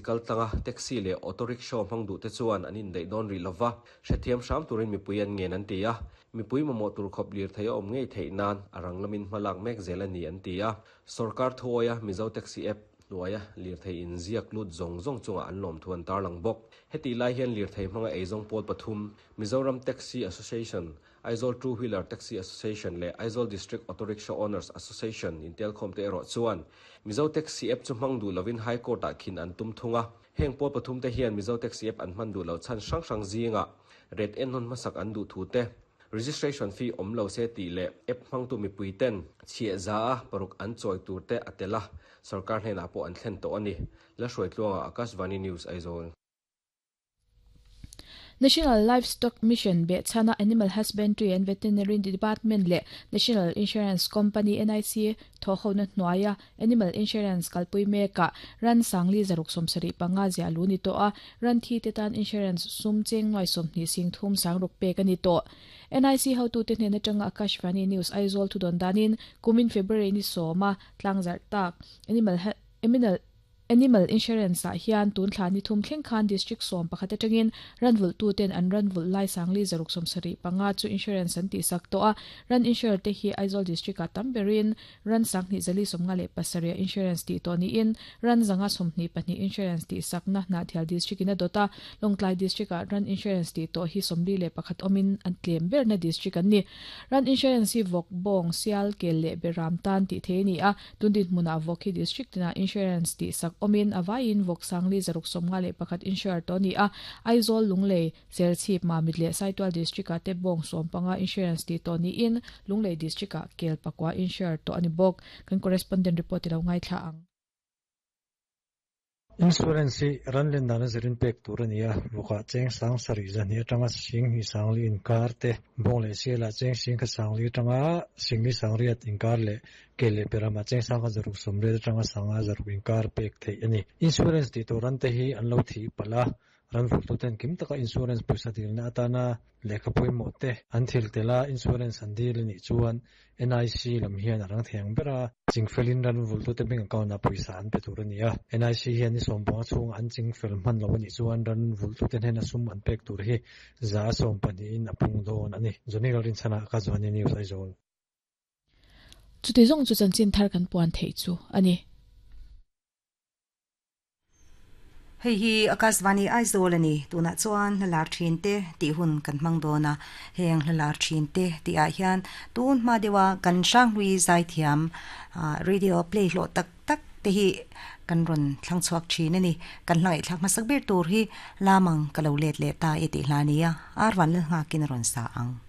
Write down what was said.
kaltlanga taxi leh auto rickshaw hmang duhte chuan an indaih dawn rih lova, hrethiam hram turin mipui an ngen an ti a. Mipui mamawh tur khawp lirthei a awm ngei theih nan a rang lamin hma lak mek zel a ni an ti a. Sorkar thuawia Mizo Taxi App hnuaia lirthei inziak lut zawng zawng chungah an lawmthu an tarlang bawk. Hetih lai hian lirthei hmanga eizawng pawl pathum, Mizoram Taxi Association, Aizawl Two Wheeler Taxi Association leh Aizawl District Auto Rickshaw Owners Association intelkhawm te erawh chuan Mizo Taxi App chu hmang duh lovin High Court ah khin an tum thung a. Heng pawl pathum te hian Mizo Taxi App an hman duh loh chhan hrang hrang zingah rate ennawn hmasak an duh thu te, registration fee awm lo se tih leh app hmangtu mipui ten chhiah za a paruk an chawi tur te a tel a, sorkar hnenah pawh an thlen tawh a ni. Lalhruaitluanga, Akashvani News, Aizawl. National Livestock Mission behchhana Animal Husbandry and Veterinary Department leh National Insurance Company, NIC, thawhhona hnuaia Animal Insurance kalpui mekah ran sangli zaruk 75 ziah lu ni tawh a, ran thi te tan insurance sum cheng nuai 20 sing thum sang ruk pek a ni tawh. NIC hotute hnen atanga Akashvani News Aizawl thudawn danin kumin February ni sawma tlangzarh tak Animal Animal Animal Insurance ah hian tun thla ni thum thleng khan District 11 atangin ranvulh tu ten an ranvulh lai sangli zaruk 75 chu insurance an tihsak tawh a. Ran insure te hi Aizawl District ah tam berin ran 2057 ah insurance tih tawh niin ran 122 insurance tihsakna Hnahthial District in a dawt a. Lawngtlai District ah ran insurance tih tawh hi 41 awmin an tlem berna district an ni. Ran insurance hi vawk, bawng, sial, kel leh beram tan tih thei a ni a. Tun dinhmunah vawk hi district tinah insurance tihsak awmin a vaiin vawk sangli zaruk 51 insure tawh a ni a. Aizawl, Lunglei, Serchhip, Mamit leh Saitual district ah te bawng 15 insurance tih tawh niin Lunglei district ah kel pakua insure tawh a ni bawk. Kan correspondent report i lo ngaithla ang. Insurance hi ran len dana zirin pek tur a ni a, vawkah cheng sang sarih zahnih atanga sing hnih sangli inkar te, bawng leh sialah cheng sing kha sangli atanga singli sangriat inkar leh kel leh peramah cheng sang kha zaruk sawmriat atanga sanga zaruk inkar pek theih a ni. Insurance tih tur ran te hi an lo thih palh a, Ran vulhtuten kim taka insurance pawisa dilna atana lehkha pawimawh te an thil tel a, insurance an dil a nih chuan NIC lam hian a rang thei ang ber a, chingfelin ran vulhtute bank account ah pawisa an pe tur a ni a. NIC hian ni sawmpanga chhunga an chingfel hman lo a nih chuan ran vulhtute hnena sum an pek tur hi za 12 in a pung dawn a ni. Johnny Lalrinchhana ka Johnny News Aizawl. Chuti zawng chu chanchin thar kan puan theih chu a ni. Hei hi Akashvani Aizawl a ni. Tunah chuan hla lar thin te tih hun kan hmang dawn a. Heng hla lar thin te tih ah hian tun hma deuha kan Hranghlui zaithiam radio play hlawh tak tak te hi kan rawn thlang chhuak thin a ni. Kan hla ngaihthlak hmasak ber tur hi Lamang ka lo let leh ta e tih hla a ni a, Arvan Lalnghakin a rawn sa ang.